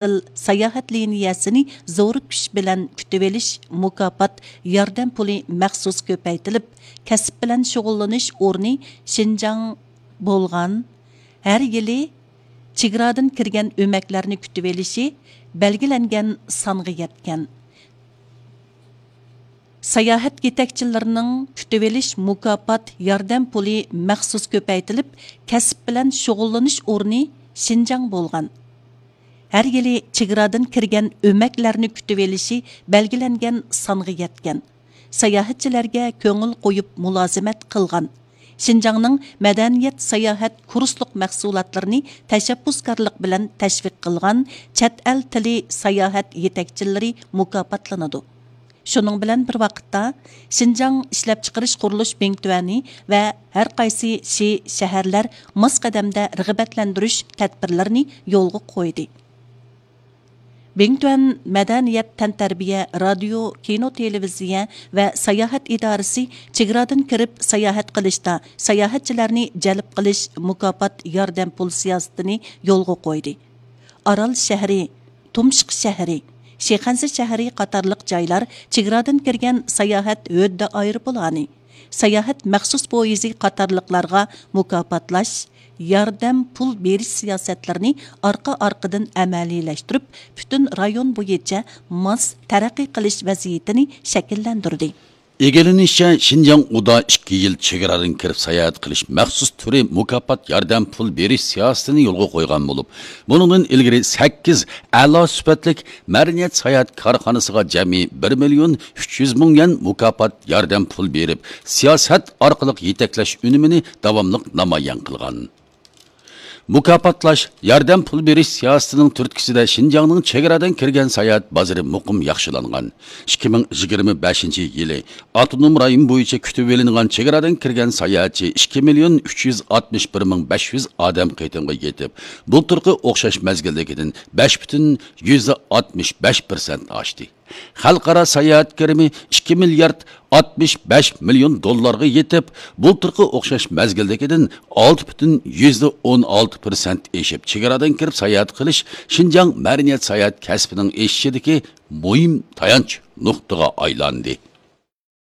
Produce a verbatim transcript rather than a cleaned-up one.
ساياھەت لىنىيەسىنى زور كۈچ بىلەن كۈتۈۋېلىش مۇكاپات ياردەم پۇلى مەخسۇس كۆپەيتىلىپ، كەسىپ بىلەن شۇغۇللىنىش ئورنى شىنجاڭ بولغان، ھەر يىلى چېگرادىن كىرگەن ئۆمەكلەرنى كۈتۈۋېلىشى بەلگىلەنگەن سانغا يەتكەن. ساياھەت يېتەكچىلىرىنىڭ كۈتۈۋېلىش مۇكاپات ياردەم پۇلى مەخسۇس كۆپەيتىلىپ، كەسىپ بىلەن شۇغۇللىنىش ئورنى شىنجاڭ بولغان. ھەر يىلى چېگرادىن كىرگەن ئۆمەكلەرنى كۈتۈۋېلىشى بەلگىلەنگەن سانغا يەتكەن. ساياھەتچىلەرگە كۆڭۈل قويۇپ مۇلازىمەت قىلغان. شىنجاڭنىڭ مەدەنىيەت ساياھەت كۇرسلۇق مەھسۇلاتلىرىنى تەشەببۇسكارلىق بىلەن تەشۋىق قىلغان چەت ئەل تىلى ساياھەت يېتەكچىلىرى مۇكاپاتلىنىدۇ. شۇنىڭ بىلەن بىر ۋاقىتتا، شىنجاڭ ئىشلەپچىقىرىش قۇرۇلۇش بىڭتۈەنى ۋە ھەر قايسى شى، شەھەرلەر ماس قەدەمدە رىغبەتلەندۈرۈش تەدبىرلىرىنى يولغا قويدى. بىڭتۈەن مەدەنىيەت، تەنتەربىيە، رادىيو، كىنو، تېلېۋىزىيە ۋە ساياھەت ئىدارىسى چېگرادىن كىرىپ ساياھەت قىلىشتا ساياھەتچىلەرنى جەلپ قىلىش مۇكاپات ياردەم پۇل سىياسىتىنى يولغا قويدى. ئارال شەھىرى، تۇمشۇق شەھىرى، شىخەنزە شەھىرى قاتارلىق جايلار چېگرادىن كىرگەن ساياھەت ھۆددە ئايروپىلانى، ساياھەت مەخسۇس پويىزى قاتارلىقلارغا مۇكاپاتلاش، ياردەم پۇل بېرىش سىياسەتلىرىنى ئارقا-ئارقىدىن ئەمەلىيلەشتۈرۈپ، پۈتۈن رايون بويىچە ماس تەرەققىي قىلىش ۋەزىيىتىنى شەكىللەندۈردى. ئىگىلىنىشىچە، شىنجاڭ ئۇدا ئىككى يىل چېگرادىن كىرىپ ساياھەت قىلىش مەخسۇس تۈرى مۇكاپات ياردەم پۇل بېرىش سىياسىتىنى يولغا قويغان بولۇپ، بۇنىڭدىن ئىلگىرى سەككىز ئەلا سۈپەتلىك مەدەنىيەت ساياھەت كارخانىسىغا جەمئىي بىر مىليون ئۈچ يۈز مىڭ يۈەن مۇكاپات ياردەم پۇل بېرىپ، سىياسەت ئارقىلىق يېتەكلەش ئۈنۈمىنى داۋاملىق نامايان قىلغان. مۇكاپاتلاش، ياردەم پۇل بېرىش سىياسىتىنىڭ تۈرتكىسىدە شىنجاڭنىڭ چېگرادىن كىرگەن ساياھەت بازىرى مۇقىم ياخشىلانغان. ئىككى مىڭ يىگىرمە بەشىنچى يىلى ئاپتونوم رايون بويىچە كۈتۈۋېلىنغان چېگرادىن كىرگەن ساياھەتچى ئىككى مىليون ئۈچ يۈز ئاتمىش بىر مىڭ بەش يۈز ئادەم قېتىمغا يېتىپ، بۇلتۇرقى ئوخشاش مەزگىلدىكىدىن بەش پۈتۈن يۈزدە ئاتمىش بەش پىرسەنت ئاشتى. خەلقئارا ساياھەت كىرىمى ئىككى مىليارد ئاتمىش بەش مىليون دوللارغا يېتىپ، بۇلتۇرقى ئوخشاش مەزگىلدىكىدىن ئالتە پۈتۈن يۈزدە ئون ئالتە پىرسەنت ئېشىپ، چېگرادىن كىرىپ ساياھەت قىلىش شىنجاڭ مەدەنىيەت ساياھەت كەسپىنىڭ ئېشىشىدىكى مۇھىم تايانچ نۇقتىغا ئايلاندى.